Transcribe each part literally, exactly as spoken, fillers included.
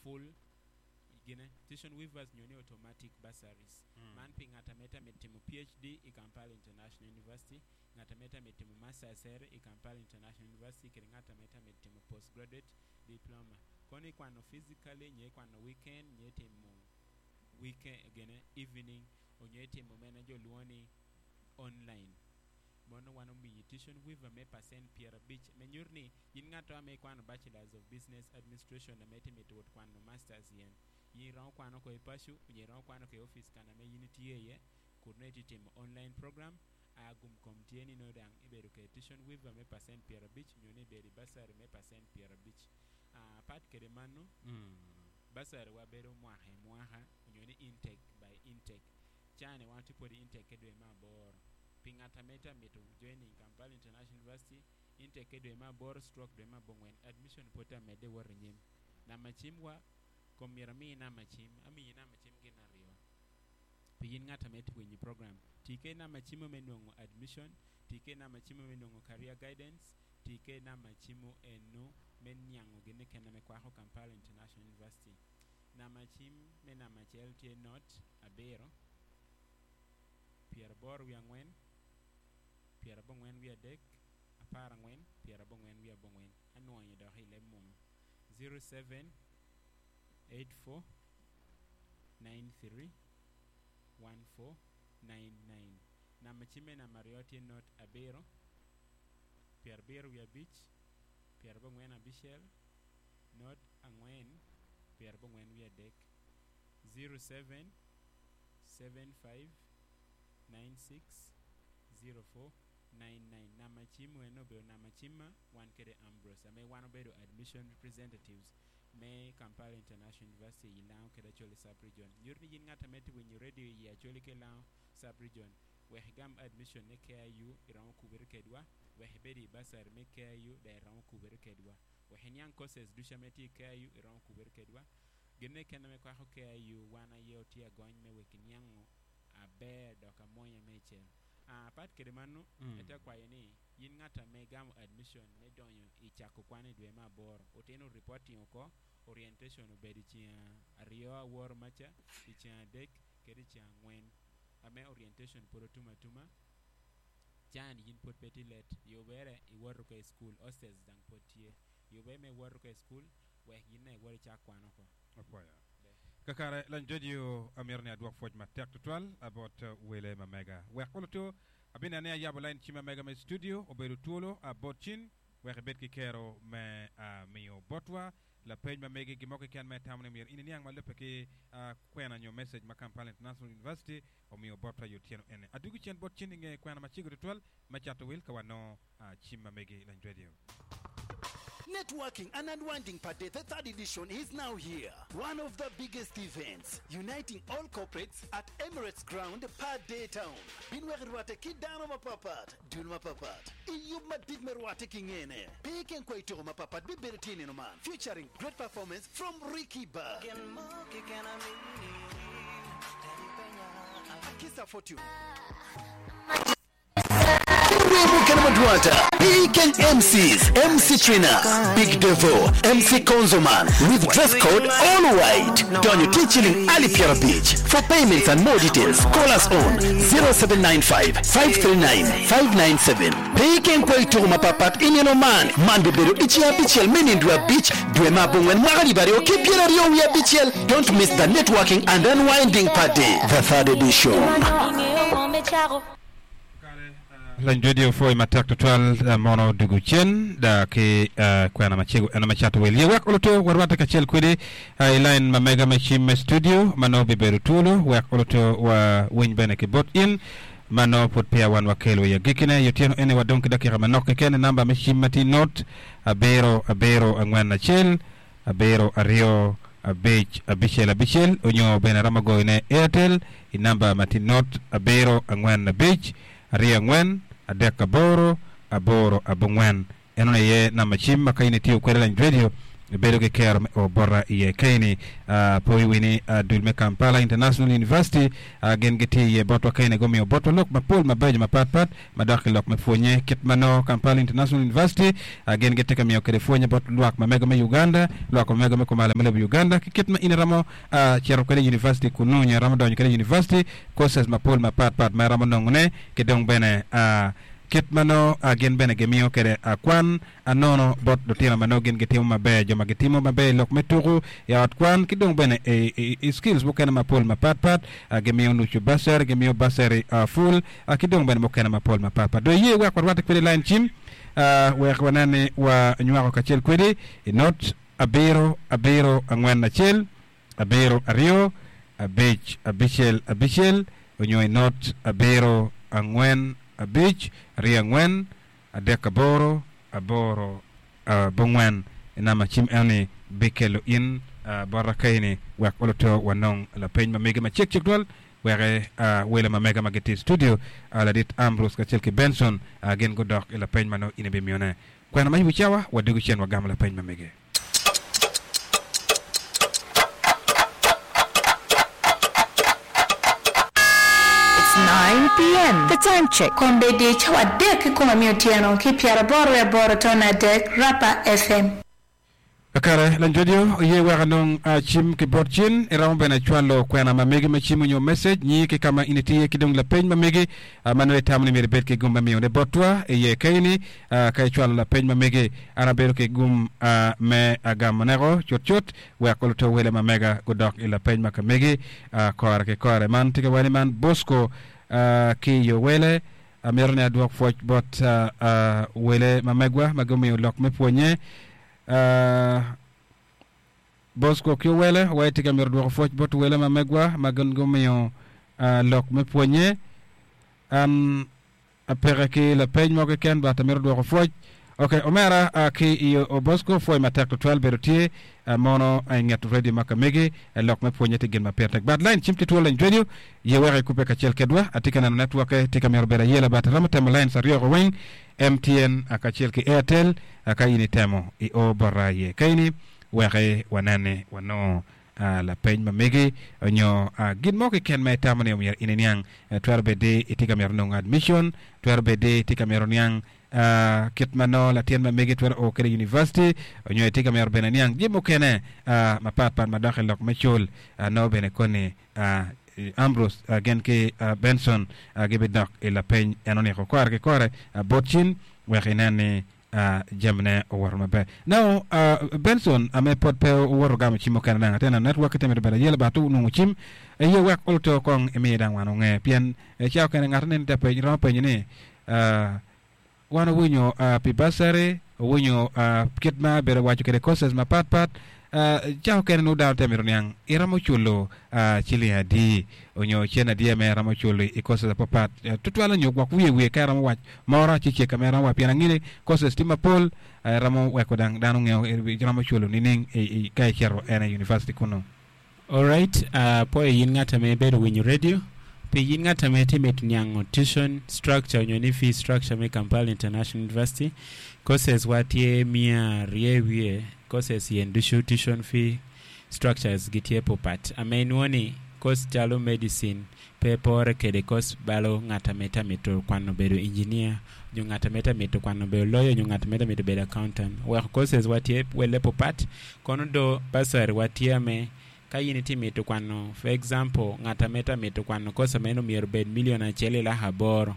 Full gine tuition waivers nyo ni automatic bursaries. Man pi ng'at ame tye mito timo P H D i Kampala International University, ng'at ame tye mito timo masters ere i Kampala International University, kede ng'at ame tye mito timo postgraduate diploma. Kono ikwano physically, nyo ikwano weekend, nyo itimo weekend gine evening, onyo itimo mene jo luo ni online. Mono wan omiyi tuition waiver me percent piero abic, me nyuto ni in ng'ato ame ikwano Bachelors of Business Administration ame tye mito wot kwano masters yen, in iromo kwano ko i paco onyo iromo kwano ko i office kana ame in itye iye, kun nongo itye timo online program. A gum kom tye ni nongo dang ibedo kede tuition waiver me percent piero abic, nyo ni ibedo i bursary me percent piero abic. uh, pat kede mano, bursary wa bedo mwaka i mwaka, onyo ni intake by intake. Cani wan tye pwod i intake ke dwe me aboro. Pi ng'at ame tye mito joining Kampala International University, intake ke dwe me aboro stroke dwe me abongwen, admission pwod tye amedde wot i nyim. Namba cim wa kom myero amiyi namba cim, amiyi namba cim gin aryo pi in ng'at ame tye winyo program. Tii kede namba cimo me nwongo admission, tii kede namba cimo me nwongo career guidance, tii kede namba cimo eno me niango gine kene me kwako Kampala International University. Namba cim me namba acel tye nought abiro pyeraboro wiye angwen pyerabongwen wiye adek apar angwen pyerabongwen wiye abongwen. Anwonyo dok i leb munu: zero seven eight four nine three one four nine nine. Namba cim me namba aryo tye nought abiro pyerabiro wiye abic pyerabongwen abicel nought angwen pyerabongwen wiye adek, zero seven seven five nine six zero four nine nine. Namba cim eno obedo namba cim ma wan kede Ambrose ame wan obedo admission representatives me Kampala International University i Lango kede Acholi sub-region. Nyuto ni in ng'at ame tye winyo radio i Acholi ki Lango sub-region, wek igam admission ne K I U, iromo kubere kedwa. Wek ibed i bursary me K I U da, iromo kubere kedwa. Wek iniang courses ducu ame tye i K I U, iromo kubere kedwa. Gine kene me kwako K I U, wan aye otye agony me wek iniango aber dok amwonya me icel. uh, pat kede mano, Mm. ate kwayo ni in ng'at ame gamo admission me donyo i cako kwan i dwe me aboro, otino reporting oko. Orientation obedo i ceng aryo aworo maca, i ceng adek kede i ceng angwen. Ame orientation pod otum atuma can, yin pod pe tye late. Yubere iwoto ka i school, hostels dang pod tye. Yubere me iwoto ka i school wek yin na iwot icak kwan oko. Apwoyo. Kakare lany radio, amito ni adwok pwoc matek tutwal abot wele ma mega. Wek oluto abine ni ayabo line cim mega me studio obedo twolo abot cin wek ibed ki kero me uh, miyo botwa lapeny ma megi, gimo keken me tamo ni myero in iniang ma lubbe ki uh, kwena nyo message ma Kampala International University omiyo botwa yo tyeno ene. Adugu cen bot cin inge kwena macego tutwal me cato wil ka wano uh, cim ma megi lany radio. Networking and Unwinding Per Day, the third edition is now here. One of the biggest events, uniting all corporates at Emirates Ground, Per Day Town. Binwek rwate ki dano mapapat, dul mapapat. Iyub madit me rwate ki ngene. Piken kwa itoko mapapat bibedo tye neno man. Featuring great performance from Ricky Bar, Akisa Fortune, Wemo Madwata, Weekend M Cs, M C Trina, Big Devo, M C Konzoman, with dress code all white. Donyo Tichiling Ali Piera Beach. For payments and more details, call us on zero seven nine five five three nine five nine seven. Weekend kwa itoko mapapat ineno man. Man bibedo ichi abichel menindwa beach, dwe mabongwen mwaka libario kipiera rio wi abichel. Don't miss the Networking and Unwinding Party, the third edition. Lany radio, pwoy matek tutwal uh, mono dugu cen da ki uh, kwena macego eno me cato wil ye wek oluto warwate kacel kwedi uh, i line ma mega me cim me studio ma nongo bibedo twolo wek oluto wa winy bene ki bot in ma nongo pud peya wan wakelo i agikine yo tyeno ene. Wadong ki dakika manok keken. Namba me cim ma tye nought abiro abiro angwen acel abiro aryo abic abicel abicel, onyo bene romo goyone Airtel i namba ma tye nought abiro angwen abic aryo angwen adek aboro aboro abongwen. Eno aye namba cim ma ka in itiyo kwede lany radio. Bedo ki kero me o bota iye kaini uh, poi wini uh, dul me Kampala International University uh, gin gitye iye botwa kaini gumiyo botwa lok mapol mabeco mapatpat madok ki lok me pwonye kit ma nongo Kampala International University uh, gin gitye ka miyo kede pwonye bot lwak ma mego me Uganda, lwak ma mego me kumalo me lobo Uganda ki kit ma in iromo uh, cito kwede university kunu nyo iromo donyo kwede university courses mapol mapatpat ma iromo nongone ki dong bene uh, kit ma nongo uh, gin bene gimiyo kede uh, kwan anono bot lutino ma nongo gin gitimo maber, jo ma gitimo maber i lok me tuku i ot kwan ki dong bene i, i, i skills mukene mapol mapatpat uh, gimiyo nucu bursary, gimiyo bursary uh, full uh, ki dong bene mukene mapol mapatpat. Do iye wek warwatte kwede line cim uh, wek wanen ni wanywako kacel kwedi i not abiro abiro angwen acel abiro aryo abic abicel abicel onyo i not abiro angwen abic aryo angwen adek aboro aboro uh, bongwen inamba cim eni bikelo in uh, bota kaini wek oluto wanong lapeny ma mege macek cek twal weke uh, wele ma mega ma gitye i studio uh, ladit Ambrose kacel ki Benson uh, gin gudok i lapeny ma nongo in ibimiyone kwena ma yubo cawa wadugo cen wagamo lapeny ma mege. It's nine p m. The time check. Kombeddi cawa adek ki kom amiyo otyeno ki pyeraboro wiye aboro tone adek Rapa F M. Kakare lan radio ye weka nong uh, chim ki bot chin iromo bene chwalo kwena ma megi ma chim onyo message nyi ki kama initiye ki dong lapeny ma megi uh, ma nongo itamo ni myero ibed ki gum ma miyo ne botwa iye kaini uh, ka ichwalo lapeny ma megi an abedo ki gum uh, me agamo neko cut cut wek oluto wele ma mega gudok i lapeny ma ka megi uh, kore ki kore man tye ka wani man Bosco uh, ki yo wele amito ni adwok pwoc bot uh, uh, wele ma megwa ma gumiyo lok me pwonye uh, Bosco ki wele wa tye ka mito dwoko pwoc bot wele ma megwa ma gin gumiyo uh, lok me pwonye an apeke ki lapeny mo keken but amito dwoko pwoc. Ok, omera uh, ki i o Bosco pwoc matek tutwal bedo tye uh, mono i nget radio ma ka megi uh, lok me pwonye tye gin ma pire tek but line cim tye twolo line radio ye wek ikupe kacel kedwa atye ka neno network tye ka mito bedo ayela but aromo temo lines aryo ko weng M T N uh, kacel ki Airtel uh, ka in itemo i o bota ye kaini weke wanene wanongo uh, lapeny ma megi onyo uh, gin mo keken ma itamo ni omyero in iniang uh, twero bedi itye ka mito nongo admission, twero bedi itye ka mito niang uh, kit ma nongo latin ma megi twero o kede university onyo itye ka mito bene niang jami mukene uh, mapatpat madok i lok me cul uh, nongo bene koni uh, Ambrose uh, gin ki uh, Benson uh, gibidok i lapeny en oniko kore ki kore uh, bot cin wek inen ni uh, jamine owoto maber. Now uh, Benson ame pod pe owoto gamo cim mukene dang atena network te mito bedo ayela but onwongo cim eye wek oluto kong imiye dang wan onge pien eh, cawa kene ng'ato nene te penyo romo penyo ni uh, wan owinyo uh, pi bursary owinyo uh, kit ma bedo waco kede courses mapatpat uh, cawa kene nongo dano te mito niang iromo culo uh, ciling adi onyo cen adi ame iromo culo i courses apapat uh, tutwal onyo gwok wiye wiye ka iromo wac moro cecek ame iromo wac pien ang'e ni courses tye mapol uh, iromo weko dang dano ng'eyo iromo culo nining i, i, ka icito en i university kunu. Alright, uh, po yin ng'at ame bedo winyo radio pi yin ng'at ame tye mito niango tuition structure onyo ni fee structure me Kampala International University courses wa tye mia aryo wiye courses yen ducu tuition fee structures gitye papat ame inwongo ni course calo medicine pe pore kede course balo ng'at ame tye mito kwano bedo engineer nyo ng'at ame tye mito kwano bedo lawyer nyo ng'at ame tye mito bedo accountant oweko courses wa tye wele papat kono do bursary wa tye ame ka in itye mito kwano, for example, ng'at ame tye mito kwano course ame myero bed million acel i lak aboro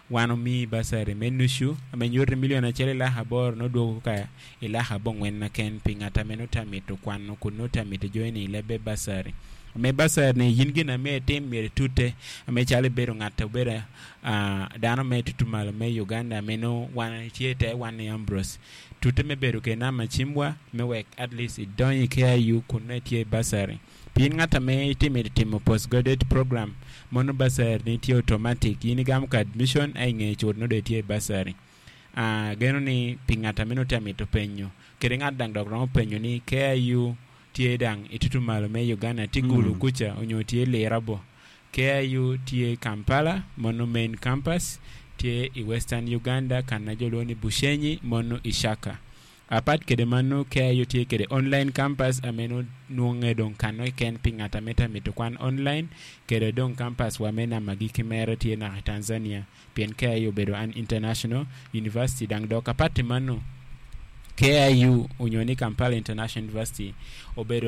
wan omii bursary me nucu ame nyuto ni million acel i lak aboro nodwogo ka i lak abongwen na ken pi ng'at ame nongo tye mito kwano kun nongo tye mito join i lebe bursary ame bursary ni yin gin ame itim myero itute ame calo ibedo ng'at obedo uh, dano me tutumalo me Uganda ame nongo wan tye te wan ni Ambrose tute me bedo kede namba cimwa me wek at least idonyo i K I U kun nongo itye i bursary pien ng'at ame itye mito timo postgraduate program mono bursary ni tye automatic in igamo ka admission a ingeye cut nongo dong itye i bursary uh, geno ni pi ng'at ame nongo tye mito penyo kede ng'at dang dok romo penyo ni K I U tye dang itutumalo me Uganda tye Gulu Mm. kuca onyo tye Lira bo K I U tye Kampala mono main campus tye i Western Uganda kana jo luongo ni Bushenyi mono Ishaka. Apat kede mano K I U tye kede online campus ameno nwonge dong kano keken pi ngat ameta mito kwan online kede dong campus wa me namagi kimere tye naka i Tanzania pien K I U obedo an international university. Dang dok apat mano K I U onyo ni Kampala International University obedo